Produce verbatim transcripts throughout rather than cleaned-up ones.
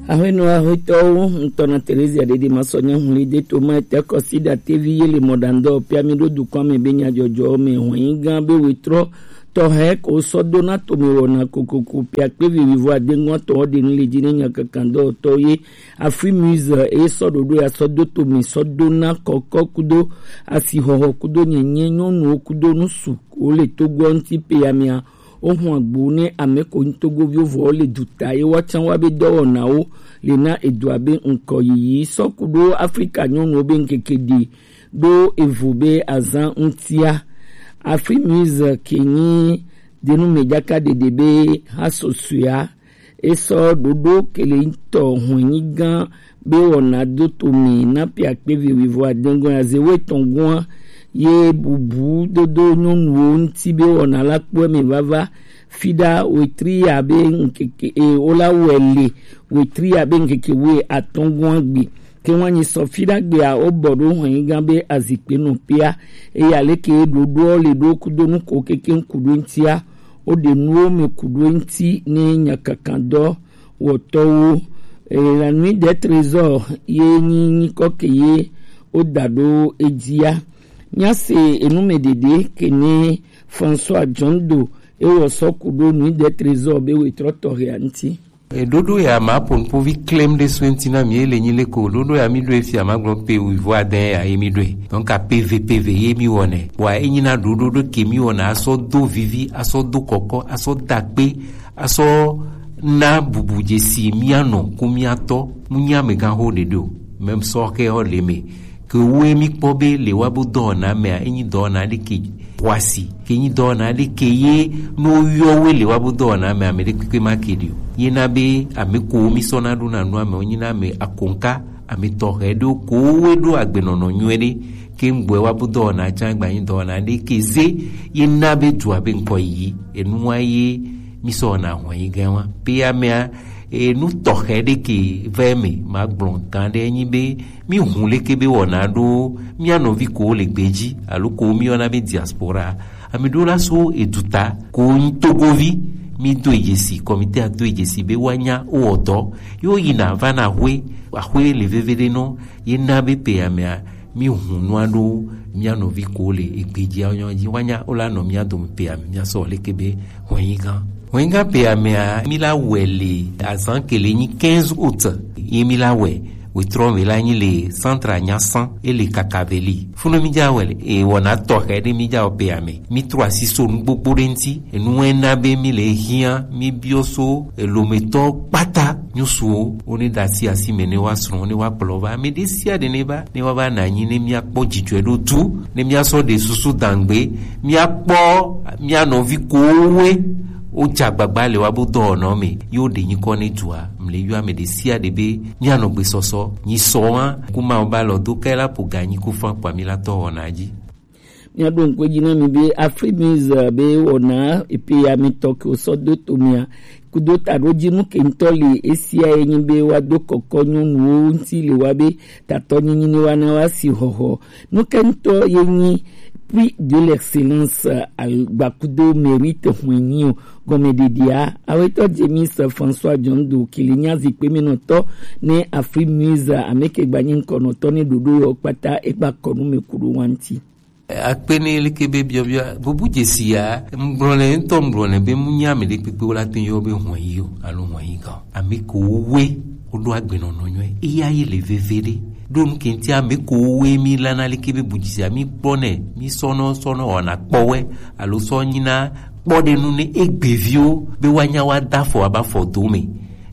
Ahwenu ahwetɔwo, ŋutɔ na Terezia ɖeɖe ma sɔ nyahuli de to ma ete kɔsi ɖa tevi ye le mɔɖaŋdɔ pia mi ɖo dukɔa me be nyadzɔdzɔ me hɔn yi gã be wetrɔ tɔxɛ ko sɔ do na tome wɔna kokoko pia kpe vivivo adeŋgɔn tɔ ɖe nu le dzi ne nya kankan dɔwɔtɔ ye Afri Muse e sɔ ɖoɖo ya sɔ do tome sɔ do na kɔkɔ kudo asixɔxɔ kudo nyenye nyɔnuwo kudo nusu ko le togoɔ ŋuti pe ya mea. Woxɔ agbo ne ame ko nyi togoviwo vɔ le duta ye woatsã wa be dɔwɔnawo le na edua be ŋkɔ yiyi sɔku ɖo Afrika nyɔnuwo be ŋkeke ɖi ɖo evo be azã ŋutia. Afri Muse ke nyi denu me dzaka ɖeɖe be ha sosoea esɔ ɖoɖo ke le ŋutɔ hɔn nyi gã be wɔna do to mi na pia kpe vi wivo adengo ya ze wo etɔn gɔa ye bubu dodo nyɔnuwo ŋuti be wɔna la kpɔe me vava fiɖa wetri ya be ŋkeke e wo la wɔe le wetri ya be ŋkeke wo atɔn gɔa gbe ke wa nyi sɔ fiɖa gbea wo bɔ ɖo hɔn nyi gã be azikpe nɔ pia eya leke ɖoɖoɔ le ɖo kudo nu ko keke ŋku ɖo ŋutia wo ɖe nuwo me ku ɖo ŋuti ne nyakakadɔ wɔtɔwo. La nuit des trésors ye nyi nyikɔ ke ye wo da ɖo edzia. Míase enu me ɖeɖe ke ne François John Do ewɔ sɔ ku ɖo nuit des trésors be wetrɔ tɔxɛa ŋuti. Eɖoɖo ya ma po nuƒovi klem ɖe so ŋuti na mi ele nyi le ko ɖoɖo ya mi ɖo efia ma gblɔ pe wivo adɛ ya ye mi ɖoe. Donc a P V P V ye mi wɔnɛ. Wa enyi na ɖoɖo ɖo ke mi wɔna asɔ do vivi asɔ do kɔkɔ asɔ dakpe asɔ na bubu dzesi mianɔ ku miatɔ mu nya me gan ho ɖeɖe o. Même sɔ xe xɔ le me ke wo mi kpɔ be le wa bo dɔwɔna mea enyi dɔwɔna ɖe ke xɔasi ke nyi dɔwɔna ɖe ke ye no yɔ we le wa bo dɔwɔna me ame ɖe kpekpe ma ke ɖi o. Ye na be ame ko mi sɔ na ɖo na nu ame wo nyi na ame akonka ame tɔxɛ ɖo ko we ɖo agbenɔnɔ nyuie ɖe ke ŋgbɔe wa bo dɔwɔna tsã gba nyi dɔwɔna ɖe ke ze ye na be dua be ŋkɔ yi enua ye mi sɔ na hɔn yi gã wa pe amea enu tɔxɛ ɖe ke vɛ me ma gblɔ gã ɖe nyi be mi hu leke be wɔna ɖo mia nɔvi ko le gbeji alo ko mi yɔna be diaspora ami ɖo la so eduta ko nyi togovi mi do ejesi kɔmite a do ejesi be wa nya o ɔdɔ yo yina va na hwe ahwe le veve ɖe nɔ ye na be pe amea mi hu nua ɖo mia nɔvi ko le egbeji a nyɔ dzi wa nya o la nɔ mia dome pe ame mia sɔ leke be hɔn yi gã hɔn yi gã pe amea mi la wɛ le azan kele nyi quinze août ye mi la wɛ wetrɔ me la nyi le centre anyasan ele kakaveli funu mi dza wɛ le e wɔna tɔxɛ ɖe mi dza wɔ pe ame mi trɔ asi so nu gbogbo ɖe ŋuti enu wɛ na be mi le hiã mi biɔ so elometɔ kpata nyusuwo wo ne da asi asi me ne wa srɔ̃ ne wa kplɔ va ame ɖe sia ɖe ne va ne wa va na anyi ne mia kpɔ dzidzɔe ɖo tu ne mia sɔ ɖe susu dangbe mia kpɔ mia nɔvi kowoe wo dza gbagba le wa bo dɔwɔnɔ me yo ɖe nyikɔ ne dua mle yɔ ame ɖe sia ɖe be mia nɔ gbesɔsɔ nyi sɔ wa kuma wo ba lɔ do kɛ la po ga nyi ko fa kpa mi la tɔ wɔna dzi. Míaɖo ŋku edzi na mi be Afri Muse be wɔna epe ya mi tɔ ke wosɔ do to mia kudo taɖodzinu ke ŋutɔ li esia ye nyi be woado kɔkɔ nyɔnuwo ŋuti le wa be tatɔ nyinyi ne wa na wa si xɔxɔ. Nu ke ŋutɔ ye nyi prix de l'excellence agbakudo mérite hwenyi o gɔmeɖeɖea awetɔ James François John Do kili nya zikpe mi nɔtɔ ne Afri Muse ameke gbanyi ŋkɔnɔtɔ ne ɖoɖo yɔ kpata egba kɔnu me ku ɖo wa ŋuti. Akpe ne leke be biɔbiɔ bubu dzesi ya ŋgblɔ nɛ ŋutɔ ŋgblɔ nɛ be mu nya ame ɖe kpekpe wo la te yɔ be hɔn yi o alo hɔn yi gã ame ko wo we wo ɖo agbenɔnɔ nyuie eya ye le veve ɖe ɖo nu ke ŋuti ame ko wo we mi la na leke be bu dzesi ya mi kpɔ nɛ mi sɔnɔ sɔnɔ wɔna kpɔwɛ alo sɔ nyina kpɔ ɖe nu ne egbeviwo be wa nya wa da fɔ aba fɔ do me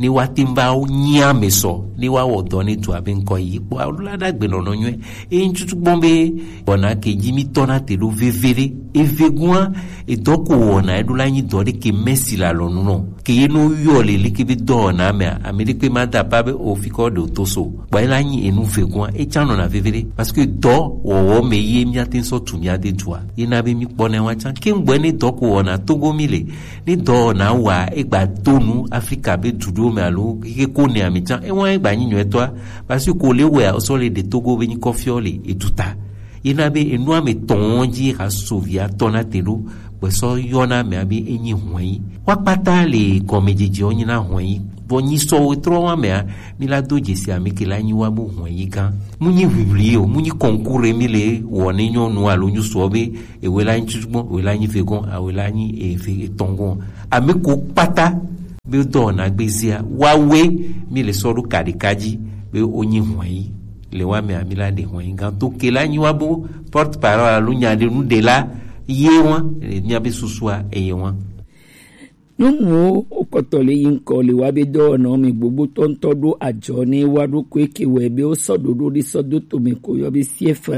ne woate ŋu va nyi ame sɔ ne woawɔ dɔ ne dua be ŋkɔ yi kpɔ alo la ɖagbe nɔnɔ nyuie eye ŋtutu gbɔn be wɔna ke dzi mi tɔ na te ɖo veve ɖe eve gua edɔ ko wɔna eɖo la nyi dɔ ɖe ke mɛsi la lɔ nu nɔ ke ye no yɔ le leke be dɔwɔna mea ame ɖe kpe ma da pa be o fi kɔ ɖe o to so kpɔ ela nyi enu ve gua etsa nɔna veve ɖe parce que dɔ wɔwɔ me ye miate ŋu sɔ tu mia de dua ye na be mi kpɔ na wa tsa ke ŋgbɔ ne dɔ ko wɔna togo mi le Ne dɔwɔna wa egba do nu Afrika be du ɖewo me alo ke ko ne ame tsã ewa egba nyi nyuitɔa parce que ko le wɛ sɔ le ɖe Togo be nyikɔ fiɔ le eduta Ye na be enua me tɔn ji ha so via tɔ na te ɖo, gbesɔ yɔ na mea be enyi hɔn yi. Wa kpata le gɔme jeje o nyi na hɔn yi. Vɔ nyi sɔ wo trɔ wa mea, mi la do jesi ame ke la nyi wa bo hɔn yi gan. Mu nyi ʋiʋli o, mu nyi kɔnkure mi le wɔ ne nyɔnu alo nyusuɔ be ewe la nyi tutugbɔn, ewe la nyi vegɔn, awe la nyi eve etɔngɔn. Ame ko kpata be dɔ na gbezia, wa we mi le sɔ ɖo kaɖeka ji be o nyi hɔn yi. Le wa mea mi la ɖe hɔn yi gan to ke la nyi wa bo porte parole alo nya ɖe nu ɖe la ye wa, mia be susua eye wa. Nyɔnuwo wokɔtɔ le yi ŋkɔ le wa be dɔwɔnawo me gbogbo tɔntɔ ɖo adzɔ ne wa ɖo koe ke wɛ be wosɔ ɖoɖo ɖe sɔ do tome ko yɔ be C F.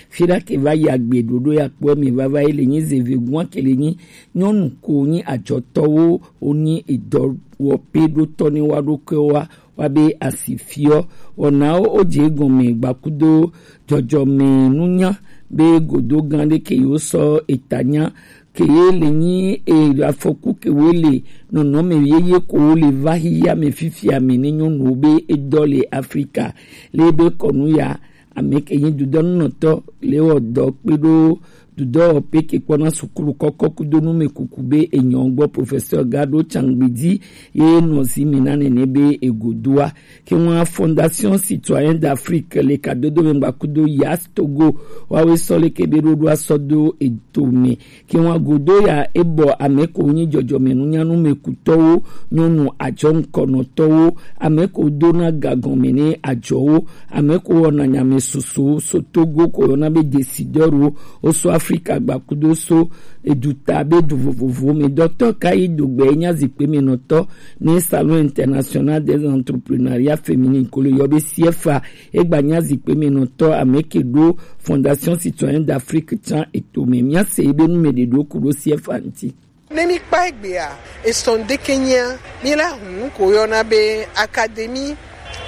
Fi ɖa ke va yi agbe ɖoɖo ya kpɔ me vava yi le nyi zeve gua ke le nyi nyɔnu ko nyi adzɔtɔwo wonyi edɔ wɔ pe ɖo tɔ ne wa ɖo koe wa wa be asi fiɔ. Wɔnawo wodze egɔme gbakudo dzɔdzɔme nunya be godo gã ɖe ke yewo sɔ eta nya ke ye le nyi e afɔku ke wo le nɔnɔme yeye ko wo le va hiya me fifia me ne nyɔnuwo be edɔ le Afrika le be kɔnu ya ame ke nyi dudɔnunɔtɔ le wɔ dɔ kpe ɖo dudɔ pe ke kpɔna sukulu kɔkɔ kudo nume kuku be enyɔ gbɔ professeur Gado Changbidi ye nɔ zi mi na nene be egodoa. Ke ŋua Fondation Citoyen d'Afrique le kadodo me gbakudo Yas Togo wawe sɔ le ke be ɖoɖo asɔ do eto me. Ke ŋua godo ya ebɔ ame ko nyi dzɔdzɔme nunyanu me kutɔwo nyɔnu adzɔ ŋkɔnɔtɔwo ame ko dona gagɔme ne adzɔwo ame ko wɔna nyame soso so Togo ko yɔna be décideur wo oso Afrika gbakudo so eduta be du vovovo me dɔtɔ ka yi do gbe nya zikpe me nɔtɔ ne Salon International des Entrepreneuriat Féminin ko le yɔ be C F A egba nya zikpe me nɔtɔ ame ke ɖo Fondation Citoyen d'Afrique tsan eto me mia se be nu me ɖe ɖo ku ɖo C F A ŋti. Ne mi kpa egbea, esɔn ɖeke nyia, mi la hun ko yɔna be Académie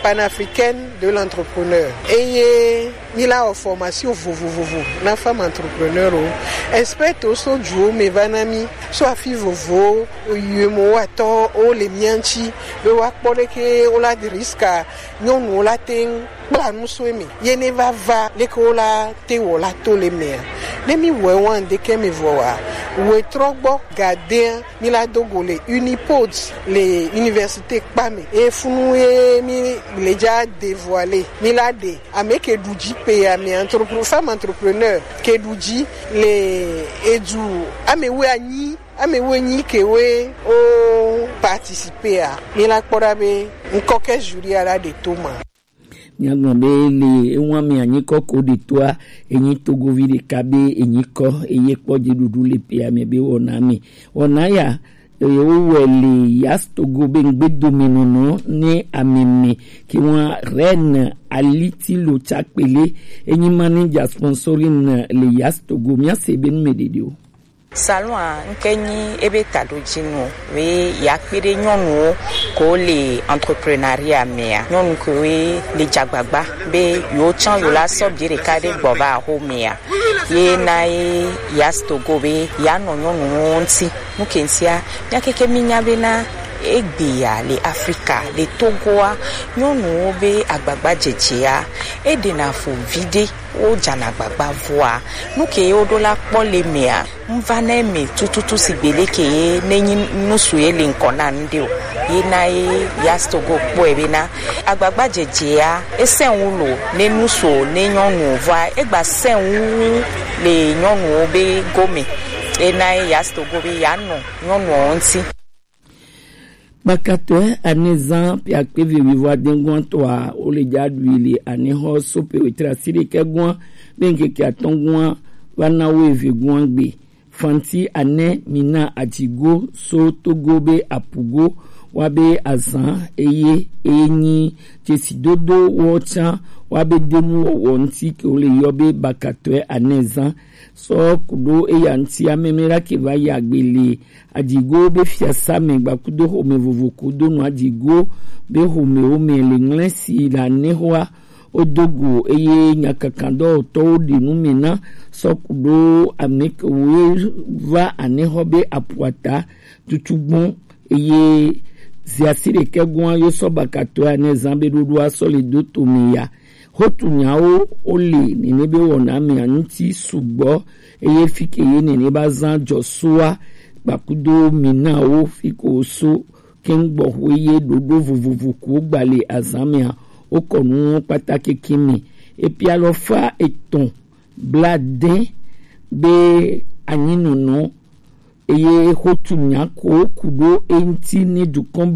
panafricaine de l'entrepreneur. Eye mi la wɔ formation vovovovo na femme entrepreneur o. Expert o so juwo me va na mi so afi vovo o yue mo wa tɔ o le mia ŋti be wa kpɔ ɖeke o la de risque nyɔnu o la te ŋ kpla nu so eme ye ne va va leke wo la te wɔ la to le mea. Ne mi wɔ wa ŋdeke me vɔ wa, wɔ trɔ gbɔ gadea mi la do go le Unipod le université kpa me. E funu ye mi le ja dévoiler mi la de ame ke ɖu dzi pe ya me entrepreneur, femme entrepreneur ke ɖu dzi le edu ame wo anyi ame wo nyi ke we o participer a mi la kpɔ ɖa be ŋkɔ ke jury a la ɖe to ma. Míagblɔ be le ewa me anyikɔ ko ɖe toa enyi togovi ɖeka be enyikɔ eye kpɔ dziɖuɖu le pea me be wɔna me. Wɔna ya eye wowɔe le Yas Togo be ŋgbedomenɔnɔ ne ameme ke wa Reine Aliti Locha Kpele enyi manager sponsoring le Yas Togo. Míase be nu me ɖeɖe o. Salon a ŋke nyi ebe taɖojinu be yeakpe ɖe nyɔnuwo ko le entrepreneuriat mea. Nyɔnu kewo le dze agbagba be yewo tsã yewo la sɔ vie ɖeka ɖe gbɔ va axomea. Ye na ye Yas Togo be yeanɔ nyɔnuwo ŋuti. Nu ke ŋutia, mía keke mínya bena egbea le Afrika, le Togoa, nyɔnuwo be agbagbadzedzea, eɖena fu viɖe. Wodzana agbagba vɔa, nu ke woɖo la kpɔ le mea, ŋva na eme tututu sigbe leke ye nenyi nusu ye le ŋkɔ na ŋɖe o. Ye na ye Yas Togo kpɔe bena agbagba dzedzea esɛnwu lo ne nusu ne nyɔnu vɔa egba sɛnwu le nyɔnuwo be gome. Ye na ye Yas Togo be yeanɔ nyɔnuwo ŋuti. Kpakatɔe anezan piakpe vivivoa dengua toa wole dza ɖui le anexɔ sope wetre asi ɖekɛ gua be ŋkeke atɔ̃ gua va na wo eve gua gbe. Fanti ane mina adzigo so Togo be apugo wa be azan eye eye nyi dzesidodo wɔ tsã wa be denu wɔwɔ ŋuti ke wole yɔ be bakatɔe anezan. Sɔ kuɖo eya ŋuti ameme ɖa ke va yi agbe le Adigo be fiasa me gbakudo xome vovo kudo nu adigo be xomewo me le ŋlɛ si le anexɔa wodo go eye nyakakan dɔwɔtɔwo ɖe nu me na sɔ kuɖo ame kewo va anexɔ be apuata tutugbɔn eye ziasi ɖekɛ gɔa yo sɔ bakatɔe anezan be ɖoɖoa sɔ le do to me ya. Hotu nyawo wo le nene be wɔna mia ŋuti sugbɔ, eye fike ye nene ba zan jɔsoa kpakudo mi na wo fiko so kɛŋgbɔxwe ye ɖoɖo vovovo ko gbale azan mea, wokɔ nuwo kpata kekin mi. Epi alɔfa etɔn bla de be anyinɔnɔ eye hotu nya ko ku ɖo eŋuti ne dukɔn